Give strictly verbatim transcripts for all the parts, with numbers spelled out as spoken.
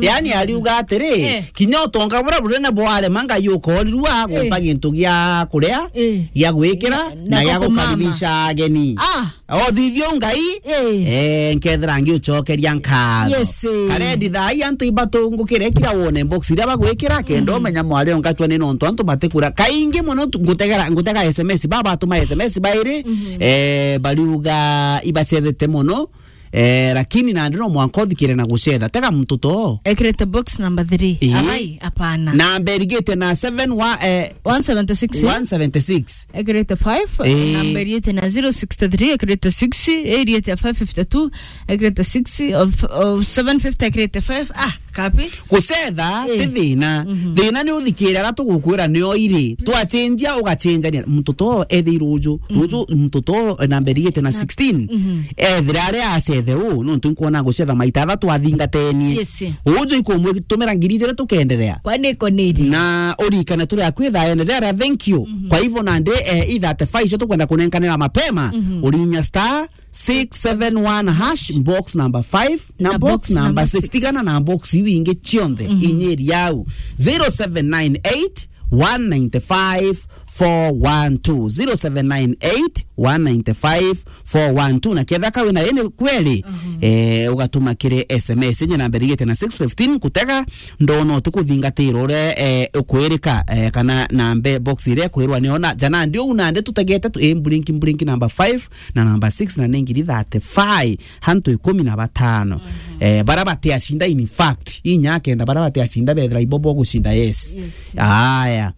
Yaani ariuga atiri, eh, kinya utonga buria bunene bwarema, Ngai ukorirua, eh, gumpa gintu gia kuria, eh, gia gwikira, na, na gia gukaribisha ageni. Ah. Othithio Ngai, eh, eh, nkethira ngiucokeria nkatho. Yes, eh. Karendi thaa ii antu ibatungukire kira wone box iria bagwikira, kenda, mm, umenya mwari ongatwa ni nontu antu batikura. Kaingi muno tu-, ngutegera, ngutega S M S, baba batuma S M S bairi, mhm, eh, bariuga ibacethete muno, eh, lakini nandi no mwanka uthikire na gucetha. Tega muntu to. Ekirite box number three. Ii. Abai, apana. Namba irigite na seven wa, eh, one seventy-six, eh? One seventy-six. Ekirite five, eh, namba irigite na zero sixty-three, ekirite six, irigite five fifty-two, ekirite six, of, of seven fifty, ekirite five. Ah, kapi? Gucetha, eh, ti thina. Mhm. Thina ni uthikire ara tugukwira nio iri. Twacenjia, ugacenjania. Muntu to ethirwe ruju. Mhm. Ruju, muntu to namba irigite na sixteen. Mhm. Ethira aria acethe u, nontu nkwona gucetha maita athatu athingatenie. Yes. Uju ikumwitumira ngiri ijiri tukenderea. Kwani iko niri? Na urikane turi akwi thaene rera, thank you. Mhm. Kwa hivyo nandi, eh, i thirty-five icio tukwenda kunenkanira mapema, mhm, urinya star six seven one hash, box number five, na, na box, box number number six. Six. Tigana na box iu ingi cionthe, mhm, inyiri yau. Zero seven nine eight, one nine five, four one two. Zero seven nine eight, one nine five, four one two. Na ketha kawe na ene kweri, mhm, eh, ugatuma kiri S M S, enye namba irigite na six fifteen, kutega, ndona uti kuthingatira uria, eh, ukwirika, eh, kana nambe box iria kwirwa ni ona. Jana ndio una nde tutegete tu, eh, blinking, blinking number five na number six na ni ngiri thirty-five, hantu ikumi na batano. Mhm. Eh, bara batiacinda, in fact, inya kenda bara batiacinda bethira ibobo gucinda, yes. Yes, yes. Aya.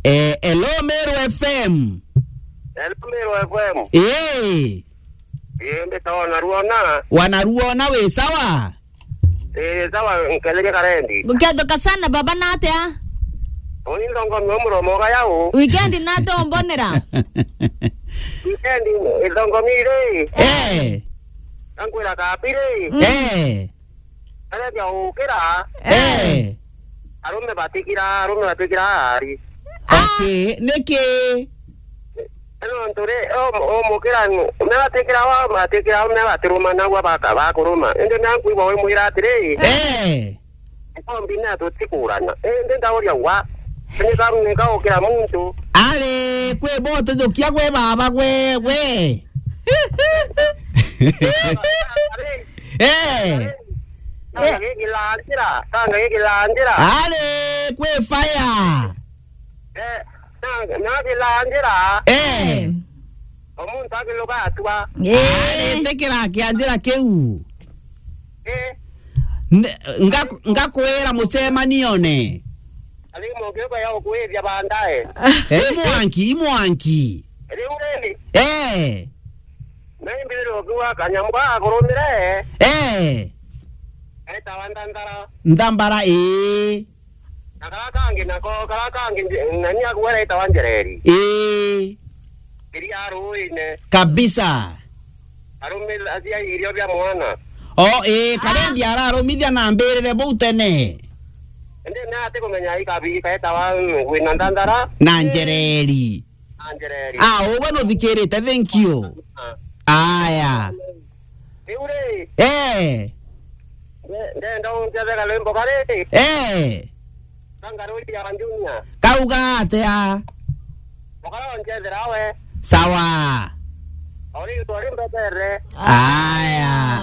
Eh, hello, Meru F M. Hello, Meru F M. Eh. Eh, mbita wanaruona. Wanaruona wi sawa? Eh, sawa, nketheria karendi. Gukethuka sana, baba, na atia? Uni ndongo mwe muromo ga yau. Weekend na tombonera. Weekend, ndongo mire. Eh. Ankwira kapire. Mm. Eh. Areja ukira. Eh. Arume batikira, arume batikira ari. Okay, niki? Nontu ri, o, o mukira nu, me batikira wa, batikira, me batiruma nagwa baka, bakuruma. Indi me ankwigua wimwira atiri, eh, kombi na tutikurana. Indi ndauria wa, ni ka, ni ka ukira muntu. Ari, kwi bote jukia gwe baba gwe, gwe. Eh. Kanga gikila njira, kanga gikila njira. Ari, kwi fire. Eh, na, na kila njira. Eh. Omuntu akiluka atua. Eh. Ari, tikira kia njira kiu. Eh. Ne-, nga-, ngakwira mucemanione. Ari mugiuka ya ukwithia bandae. Eh, imwanki, imwanki. Riu ri. Eh. Na imbirire ukiuga kanyamu gakurumire. Eh. Etawa ndandara. Ndambara, ii. Na kara kangi nako, kara kangi nje-, nani akuga etawa njereri. Ii. Iria ruine. Kabisa. Arumira cia irio bia mwana. O, ii, karendi ararumithia na mbirire bau tene. Indi na ati kumenya ikabi, kaetawa, mm, wina ndandara. Na njereri. Anjereri. Ah, ugwe nuthikirite, thank you. Ah. Aya. Riu ri. Eh. Nde-, ndenda unjethera rwimbo kari. Eh. Kangaruri ya Junior. Kauga atia? Mukara unjethera we. Sawa. Ori twari mbetere. Aya,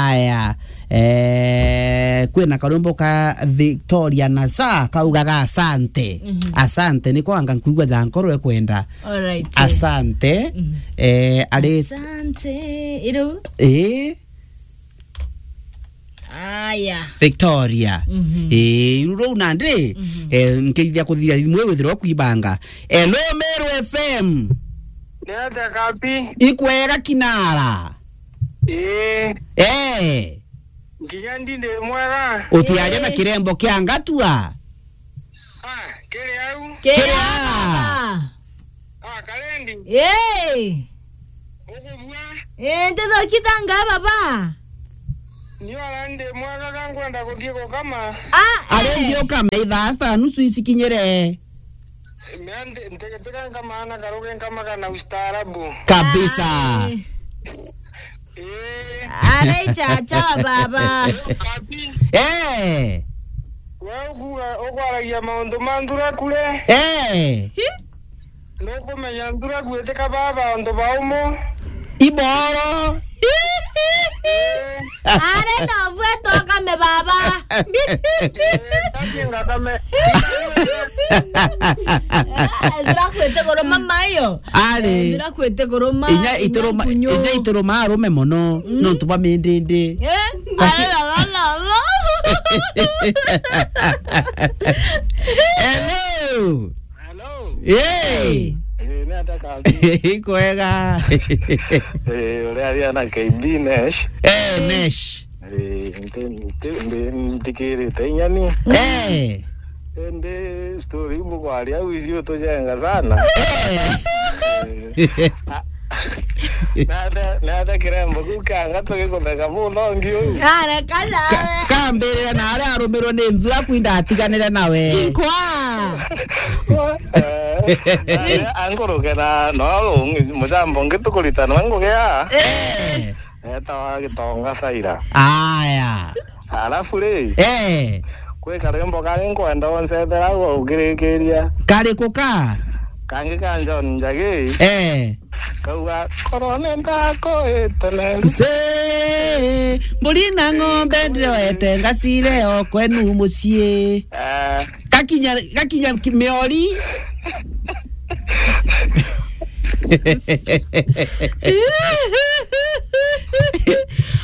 aya. Eh, kwina karwimbo ka Victoria na Sa kaugaga asante. Mhm. Asante, niko anga nkuigua ja nkoro ekwenda. Alright. Asante. Mhm. Eh, ari. Asante. Iru. Eh. Aya. Victoria. Mhm. Eh, iru rou nandi, mhm, eh, nkeithia kuthia imwe withirwa kwibanga. Hello, Meru F M. Niatia kapi? Ikwega kinara. Eh. Eh. Nginya ndi ndi mwega. Utiaria na, eh, kirembo kia ngatua. Ah, kiri au? Kiri au? Ah, Kalendi. Eh. Ukubua? Eh, ndithokitanga baba. Ni ara ndi mwega ka nkwenda kuthii gukama. Ah, ari, eh, ndi ukama ithaa sita nusu icikinyire. Mea nti-, ntigitika nkamaana karugi nkamaga na ustaarabu. Kabisa. Ai. Eh. Ari chacha wa baba. Kabi. Eh. We ukuga, ukwaragia maundu ma nthura kure. Eh. Nukumenya nthura gwitika baba antu baumo. Iboro. Are no bwe twakame baba. Eh, tati ngakame. Nthura kwite kuruma mayo. Ari. Nthura kwite kuruma. Inya ituruma, inya ituruma arume mono. Mm. Nontu bwa mindindi. Eh? Hello. Hello. Hey. Eh, ni ata kabi? Ikwega. Eh, uria aria na K B Nash. Eh, Nash. Eh, nti-, nti-, ndi-, nthikirite inya ni. Eh. Indi story iu bukwaria au icio tujenga sana. Eh. Eh. Nata, nata kirembo kiu kianga tugikutheka buthongi uu. Are kana. Ka-, kambirira na aria arumirwe ni nthura kwinda atiganire nawe. Nkwa. Eh, anguruke na no mucambo ungi tukuritana ngugi aa. Eh. Etawa Gitonga Saira. Aya. Alafu ri, eh, kwi karwimbo kangi nkwenda uncethera ugirikiria. Kariku ka? Kangi ka John Njagi. Eh. Kauga, "Korwo ni ndakuite ne." Mzee, mburi na ng'ombe ndioete ngacire o kwenu mucii. Eh. Gakinya, gakinya ki-, miori.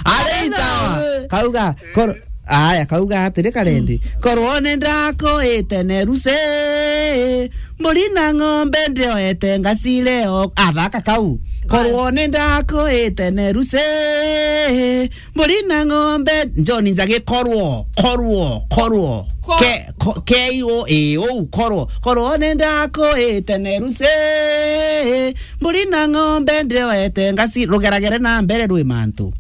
Ari sawa. Kauga, kor-, aya, kauga atiri karendi. Mm. "Korwo ni ndakuite ne ruce, mburi na ng'ombe ndioete ngacire o." Athaka kau. Korwo ni ndakuite ne ruce, mburi na ng'ombe, John Njagi, korwo, korwo, korwo. Ko- Ke-, ko-, K O A, ou, korwo. Korwo ni ndakuite ne ruce, mburi na ng'ombe ndioete ngaci-, rugeragere na mbere rwi mantu.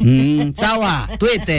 Mm, sawa, twite.